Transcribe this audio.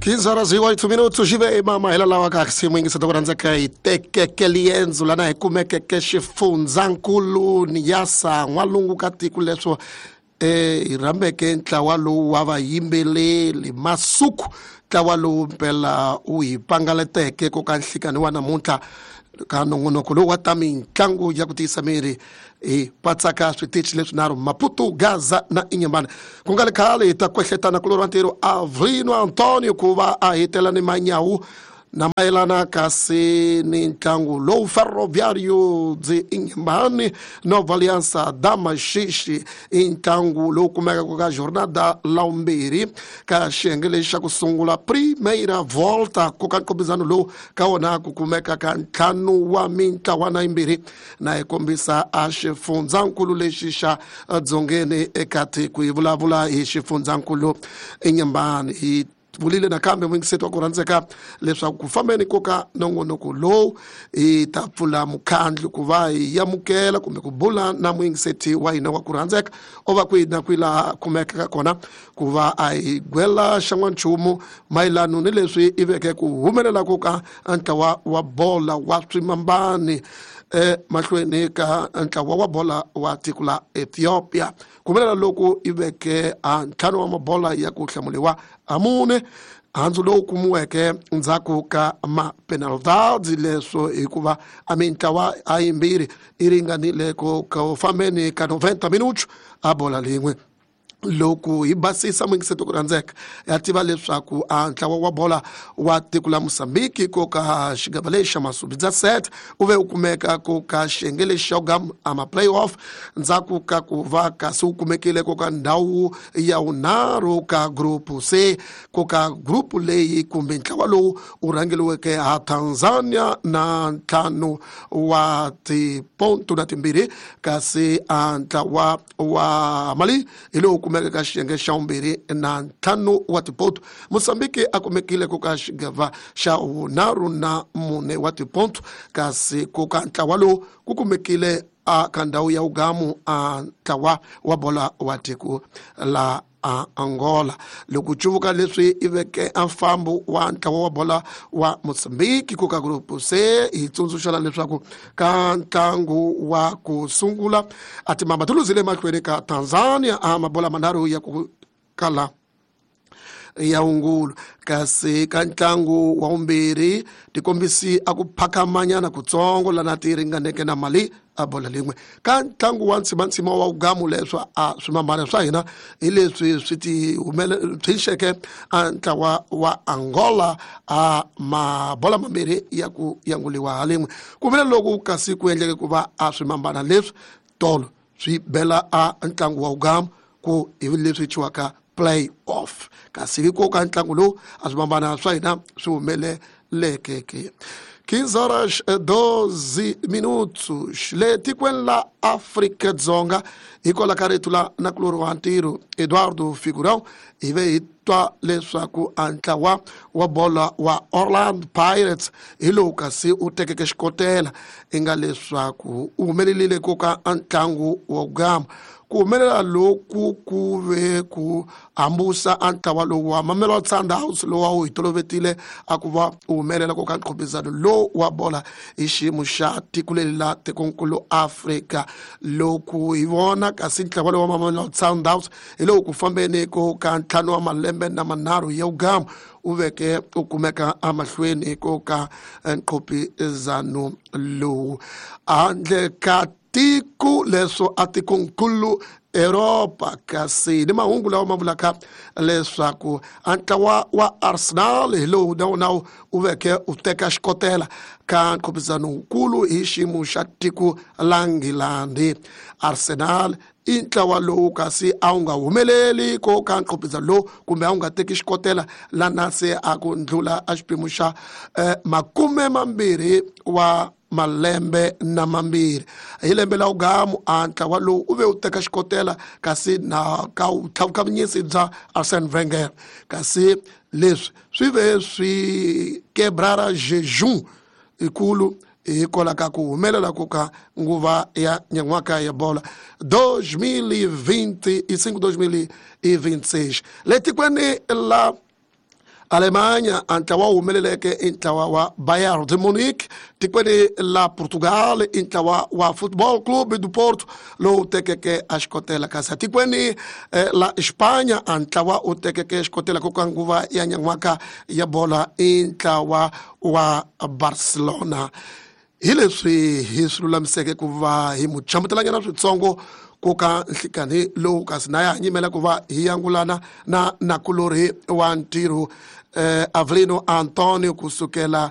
15 horas e 8 minutos jive mama hela lawa ka xiyimo yingiseta ku rhandzeka hi tekeke liendzo lana hi kumekeke xifundzankulu ni yasa n'walungu ka tiko leswo hi rhambeke ntlawa lowu wa vayimbeleri masuku ntlawa lowu mpela wu hi pangaleteke ko ka nhlikani wa namuntlha ka nongonoko lowu wa ta mitlangu ya ku tiyisa miri hi patsaka switichi leswinharhu Maputo, Gaza na Inhambane. Ku nga ri khale hi ta kwehletana kulorhi wa ntirho Avrino Antonio ku va a hetela ni manyawu na mayelana kasi ni ntlangu lowu Ferroviário de Inhambane Nova Aliança da Maxixe i ntlangu lowu kumekaka ka jornada lawumbirhi ka xiyenge lexi xa ku sungula primeira volta ku ka nkombisano lowu ka wona ku kumeka ka ntlhanu wa mintlawana yimbirhi na hi kombisa a xifundzankulu lexi xa dzongeni eka tiko hi vulavula hi xifundzankulu Inhambane. Hi vulile nakambe muyingiseti wa ku rhandzeka leswaku ku fambeni ko ka nongonoko lowu hi ta pfula mukhandlu ku va hi amukela kumbe ku bula na muyingiseti wa hina wa ku rhandzeka o va kwihi na kwihi laha kumekaka kona ku va a hi gwela xan'wanchumu mayelano ni leswi i veke ku humelela ku ka ntlawa wa bola wa swimambani mahlweni ka ntlawa wa bola wa tiko la Ethiopia. Ku humelela loku i veke a ntlhanu wa mabola ya ku hlamuliwa a mune handzu lowu kumiweke ndzhaku ka mapenaltadi leswo hikuva a mintlawa a yimbirhi i ringanile ku ku fambeni ka 90 minutos a bola lin'we. Loko hi basisa muyingiseti ku rhandzeka ya tiva leswaku a ntlawa wa bola wa tiko la Mozambique ko ka xigava lexi xa masubidza set u ve u kumeka ko ka xiyenge lexi xa gam a ma playoff ndzhaku ka ku va kasi wu kumekile ko ka ndhawu ya vunharhu ka group C ko ka group leyi kumbe ntlawa lowu wu rhangeliweke ha Tanzania na ntlhanu wa tiponto na timbirhi kasi a ntlawa wa Mali hi lowu kumeka ka xiyenge xa vumbirhi na ntlhanu wa tiponto. Mozambique a kumekile ku ka xigava xa vunharhu na mune wa tiponto kasi ku ka ntlawa lowu ku kumekile a ka ndhawu ya ugamu a ntlawa wa bola wa tiko la a Angola. Loko cuvuka leswi i veke a mfambo wa ntlawa wa bola wa Mozambique ku ka group C hi tsundzuxana leswaku ka ntlangu wa ku sungula a timamba ti luzile emahlweni ka Tanzania a mabola manharhu ya ku kala ya wungulu kasi ka ntlangu wa vumbirhi tikombisi a ku phakamanyana kutsongo lana ti ringaneke na Mali a bola lin'we. Ka ntlangu wa ntsimantsima wa ugamu leswa a swimambana swa hina hi leswi swi ti humele a ntlawa wa Angola a mabola mambirhi ya ku yanguliwa ha lin'we. Ku humelela loku kasi ku endleke ku va a swimambana leswi tolo swi bela a ntlangu wa ugamu ku hi leswi thyiwaka play off kasi hi ko ka ntlangu lowu a swimambana swa hina swi humeleleke ke. 15 horas 12 minutos le tikweni la Afrika Dzonga hikwalaho ka rito la nakulorhi wa ntirho Eduardo Figurão hi ve hi twa leswaku a ntlawa wa bola wa Orlando Pirates hi lowu kasi u tekeke xikotela i nga leswaku u humelerile ku ka ntlangu wa gama. Ku humelela loku ku ve ku hambusa a ntlawa lowu wa Mamelodi Sundowns lowu a wu hi tolovetile a ku va u humelela ku ka nqhubizano lowu wa bola hi xiyimo xa tiko leri la tikonkulu Afrika. Loko hi vona kasi ntlawa lowu wa Mamelodi Sundowns hi lowu ku fambeni ku ka ntlhanu wa malembe na manharhu ya ugamu u veke u kumeka emahlweni ko ka nqhubizano lowu handle ka tiko leswo a tikonkulu Europa. Kasi ni mahungu lawa ma vulaka leswaku a ntlawa wa Arsenal hi lowu na wona u veke u teka xikotela ka nqhubizano wukulu hi xiyimo xa tiko la Nghilandhi. Arsenal i ntlawa lowu kasi a wu nga humeleli ko ka nqhubizano lowu kumbe a wu nga teki xikotela lana se a ku ndlula a xiphemu xa 20 wa malembe na mambirhi. Hi lembe la ugamu a ntlawa lowu u ve u teka xikotela kasi na ka vutlhavukavunyisi bya Arsene Wenger kasi leswi swi ve swi quebrara jejum ikulu hikwalaho ka ku humelela ku ka nguva ya nyan'waka ya bola 2025 2026. Le tikweni la Alemanya, a ntlawa wu humeleleke i ntlawa wa Bayern de Munich. Tikweni la Portugal, i ntlawa wa Football Club do Porto lowu tekeke a xikotela, kasi atikweni la Espanya, a ntlawa u tekeke xikotela ku ka nguva ya nyan'waka ya bola i ntlawa wa Barcelona. Hi leswi hi swi lulamiseke ku va hi mu chamutelanyana switsongo ku ka nhlikani lowu, kasi na ya ha nyimela ku va hi yangulana na nakulorhi wa ntirho Avelino Antonio kusukela.